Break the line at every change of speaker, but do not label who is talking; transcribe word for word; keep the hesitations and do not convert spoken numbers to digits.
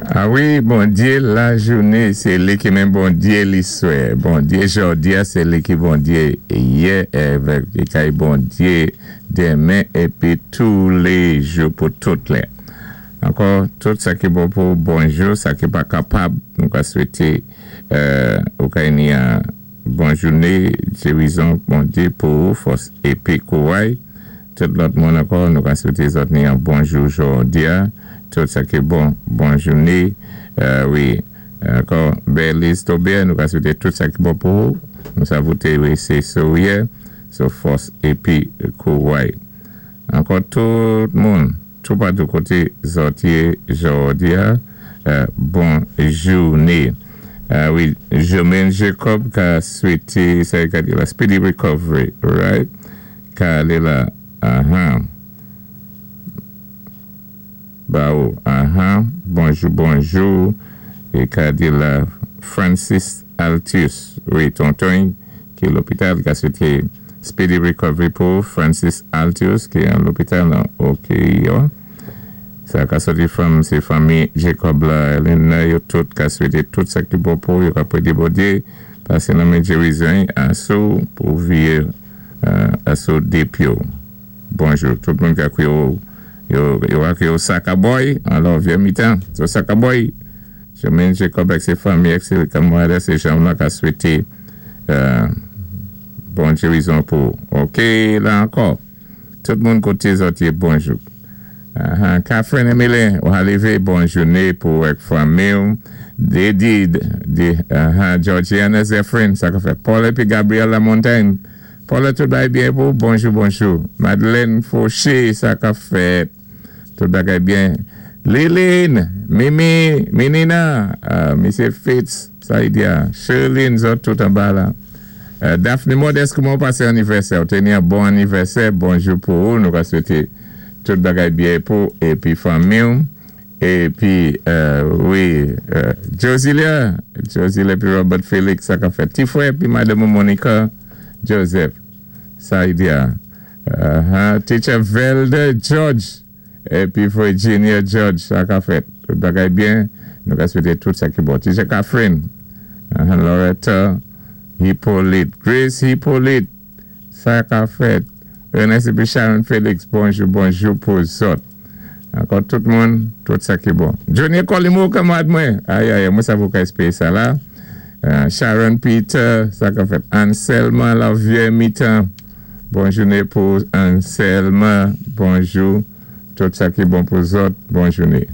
A wi, Bondyé lajounen, sé li ki menm Bondyé liswè. Bondyé jòdi-a, sé li ki Bondyé yè, avèk ki kay Bondyé denmen, épi toulé jou pou tout lè. Ankò, tout sa ki bon pou bonjou, sa ki pa kapab, nou ka swété euh, ou ka ni yon bon jounen, gérizon Bondyé pou ou, fòs épi kouray. Tout lòt moun ankò, nou ka swété zòt ni yon bonjou jòdi-a. Tout sa ki bon, bon jounen. Euh, wi, ankò, Berlis Tobé, nou ka swété tout sa ki bon pou ou. Nou sav ou té wé sé souyè, so fòs épi kouray. Ankò tout moun, tout patou koté zòt yé jòdi-a, euh, bon jounen. Euh, wi, Jermaine Jacob ka swété, sa ka di la, speedy recovery, right? Ka alé la, aha. Ba ou, aha, bonjou, bonjou, é ka di la Francis Altius, wi, tonton, ki lopital, ka swété speedy recovery pou Francis Altius, ki an lopital nan ok, yo. Sa ka soti fanm, sé fanmi Jacob la, Elena, yo tout ka swété tout sa ki bon pou, yo ka pwédé Bondyé, pasé nan men gérizon, asou pou viyé euh, asou dépyo. Bonjou, tout moun ka kwiyé yo, yo, yo ka kwiyé yo Sakaboy, alò Vyé Mitan, so Sakaboy, Jermaine Jacob ak sé fanmi, ak sé kanmarad, sé jan la ka swété euh, bon gérizon pou. Ok, la ankò. Tout moun koté zòt yé bonjou. Uh, Catherine Emile, ou lévé, bon jounen pou ak fanmi. Dedi, di, uh, Georgiana Zephyrin, sa ka fèt. Paul épi Gabriel Lamontagne. Paul, tout bagay byen pou, bonjou, bonjou. Madeleine Fauché, sa ka fèt. Tout bagay byen. Liline, Mimi, Minina, uh, Misye Fitz, Saïdia, Sherlyn, zòt tout anba la. Euh, Daphne Modeste, kouman pasé anivèsè? Ou té ni yon bon anivèsè, bonjou pou ou, nou ka swété tout bagay byen pou, épi fanmi, épi, euh, wi, euh, Josilia, Josilia épi Robert Félix, sa ka fèt. Ti frè, épi Madame Monica Joseph, Saïdia, uh, Teacher Velde George, épi Virginia George, sa ka fèt. Tout bagay byen, nou ka swété tout sa ki bon. Teacher Catherine, uh, Loretta Hippolyte, Grace Hippolyte, sa ka fèt. Ernest épi Sharon Félix, bonjou, bonjou pou zòt. Ankò tout moun, tout sa ki bon. Johnny Colimo, kanmarad mwen. Ay, ay, mwen sav ou ka espéwé sa la. Euh, Sharon Peter, sa ka fèt. Anselma la Vyé Mitan. Bon jounen pou Anselma. Bonjou. Tout sa ki bon pou zòt. Bon jounen.